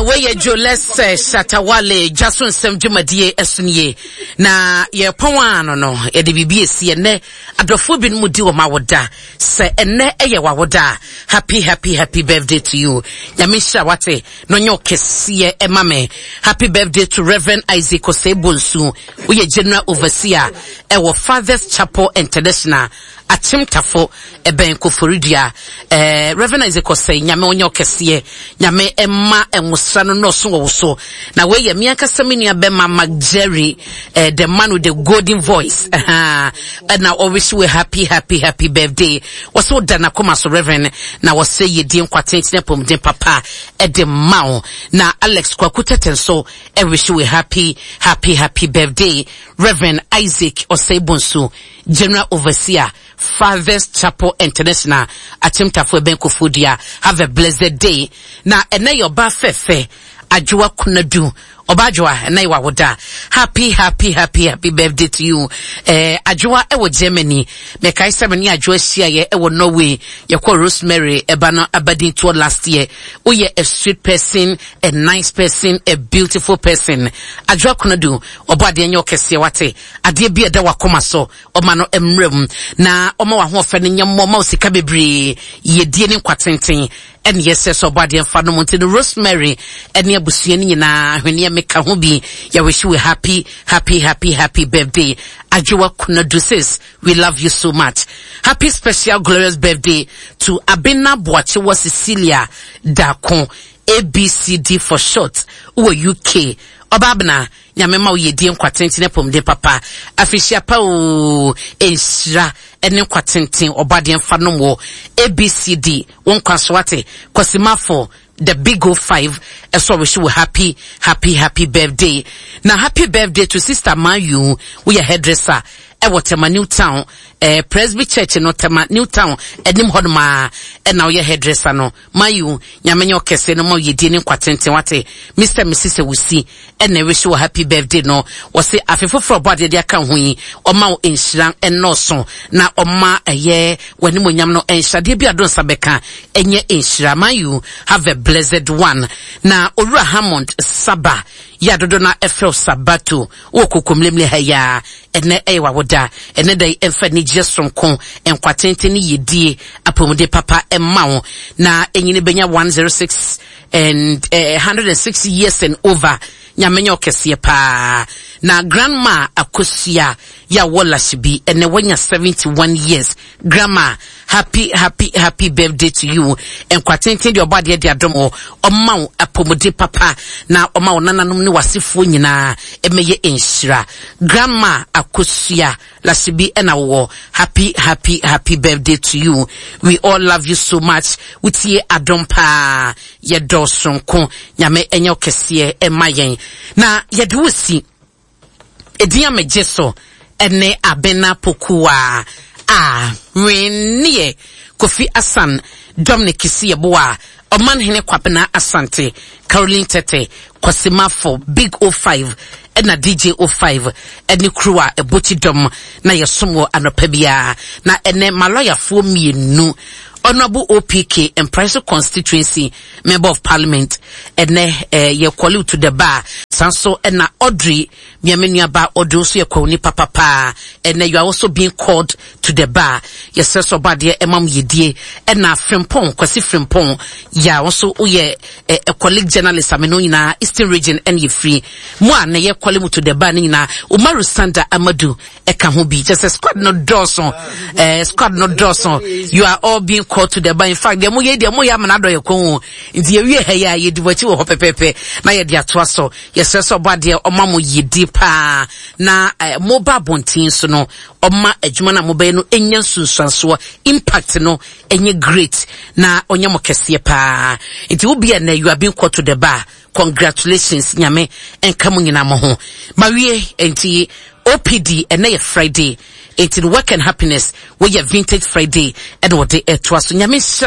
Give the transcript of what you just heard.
Wei yɛ Jolese Shatawale dwa so nsɛm dwumadie ɛso nie. Na yɛpɔn a no no, yɛde biribi esi ɛnɛ. Adɔfoɔ binom di wɔn awoda. Sɛ ɛnɛ ɛyɛ w'awoda a, happy happy happy birthday to you. Nyame nhyira wate na ɔnyɛ ɔkɛseɛ ɛma me. Happy birthday to Reverend Isaac Osei Bonsu. Woyɛ General Overseer ɛwɔ Fathers Chapel International. Akyem Tafo ɛbɛn Koforidua eh, Reverend Isaac Osei Nyame ɔnyɛ ɔkɛseɛ Nyame ɛma nwosra no nɔɔso wɔ wo so na wei yɛ me ankasa me nua bɛma Mark Jerry eh, the man with the golden voice ɛna ɔwish we happy happy happy birthday wɔsɛ woda n'akoma so Reverend na wɔsɛ yɛdie nkwa tenten apɔmuden papa ɛde ma wo na Alex Kwaku Tete nso ɛwish we happy happy happy birthday Reverend Isaac Osei Bonsu General Overseer, Fathers Chapel International, Akyemtafo Ɛbɛn Koforidua. Have a blessed day. Na ɛnɛ yɛ ɔbaa fɛfɛ, Adwoa Kunadu. Ɔbaa Adwoa, ɛnɛ yɛ wawoda. Happy, happy, happy, happy birthday to you. Eh, Adwoa ɛwɔ Germany. Mekae sɛ me ne Adwoa hyiaeɛ ɛwɔ Norway. Yɛkɔ Rosemary ɛba no abadintoɔ last year. Woyɛ a sweet person, a nice person, a beautiful person. Adwoa Kunadu, ɔbɔ adeɛ nyɛ ɔkɛseɛ wate. Adeɛ bi a ɛda w'akoma so, ɔma no mmra mu, na ɔma w'ahoɔfɛ no nyɛ mmɔ, ɔma wo sika bebree, yiedie ne nkwa tenten, ɛne yɛsrɛ sɛ ɔbɔ adeɛ mfa nom nti no Rosemary ɛne abusua no nyinaa ahweneɛ meka ho bi yɛwish you a happy happy happy happy birthday Adwoa Kunadu sis we love you so much happy special glorious birthday to Abena Boakyewa Cecilia Dako ABCD for short wɔ UK ɔba Abena Nyame ma wo yedie nkwa tenten apɔmuden papa afirihyia pa oo nhyira ne nkwa tenten ɔbɔadeɛ mfa nom wo ABCD wo nkwa so wate Kwasi Mafo the big O 5 ɛsɛ ɔwehye wo happy happy happy birthday na happy birthday to sister Mayu woyɛ hairdresser ɛwɔ Tema New Town eh, Presby Church no Tema New Town anim hɔ nom a ɛna woyɛ hairdresser no Mayu, Nyame nyɛ ɔkɛse no ma wo yedie ne nkwa tenten wate. Mister Mrs Awusi ɛna ɛwish wo happy birthday no, wɔse afe foforɔ ɔbɔ adeɛ de aka wo ho yi ɔma wo nhyira nnɔɔso na ɔma ɛyɛ w'animonyam no nhyɛ adeɛ bi a do nsa bɛka ɛnyɛ nhyira. Mayu, have a blessed one. Na Owura Hammond Saba yi a dodo na ɛfrɛ wo Sabato wɔ Kokomlemle ha yi ara, ɛnɛ ɛyɛ w'awoda. Ɛnɛ da yi ɛmfa anigyeɛ soronko, nkwa tenten ne yiedie, apɔmuden papa mma wo, na ɛnyini bɛnya 106 and eh, 106 years and over. Nyame nyɛ ɔkɛseɛ paa. Na grandma Akosua yɛ a wɔ Lashibi, ɛnɛ wanya 71 years. Grandma, happy happy happy birthday to you. Nkwa tenten deɛ ɔbɔ adeɛ de adom wo. Ɔma wo apɔmuden papa na ɔma wo nananom ne w'asefoɔ nyinaa ɛmɛyɛ nhyira. Grandma Akosua Lasibi ɛna wowɔ. Happy happy happy birthday to you. We all love you so much. Wotie adom paa. Yɛdɔ soronko. Nyame ɛnyɛ wo kɛseɛ ɛma yɛn. Na yɛde wo si. Edin a megye so ne Abena Pokuaa a Hwenneɛ Kofi Asan Dominic Kisi Yeboah Ɔmanhene Kwabena Asante Caroline Tete Kwasi Mafo Big O5 ɛna DJ O5 ɛne crew a ɛbɔ kyidɔm na yɛsom wɔ anɔpa biara na ɛnɛ malɔyafoɔ mmienu Honourable OPK Mpraeso Constituency Member of Parliament ɛnɛ eh, yɛ call to the bar saa nso ɛna Audrey mia me nua ba Audrey nso yɛ kwawu nipa papaa ɛnɛ you are also being called to the bar yɛsrɛ sɛ ɔba adeɛ ɛma mo yɛdie ɛna Frimpong Kwasi Frimpong yɛ a nso woyɛ eh, a colleague journalist ame no nyinaa Eastern Region ɛna yɛfiri mo a na yɛ call mu to the bar ne nyinaa Umaru Sanda Amadu ɛka ho bi kyɛ sɛ squad no dɔɔso ɛɛ eh, squad no dɔɔso you are all being called to the bar in fact deɛ mo yɛ deɛ mo yɛ amena dɔ yɛ kɔn o nti yɛwie ha yi a yɛdi wɔn akyi wɔ hɔ pɛpɛɛpɛ na yɛde atoa so yɛsrɛ sɛ ɔbɔ adeɛ ɔma mo yɛdi paa na ɛɛ eh, mo ba abɔnten so no ɔma adwuma no a mobɛyɛ no nya nsunsuansoɔ impact no ɛnyɛ great na ɔnyɛ mo kɛseɛ paa nti wo bi a na you are being called to the bar Congratulations Nyame nka mo nyinaa mo ho. Mawie nti OPD ɛnɛ yɛ Friday nti no work and happiness woyɛ vintage Friday ɛna wɔde ɛtoa so. Nyame nhyira.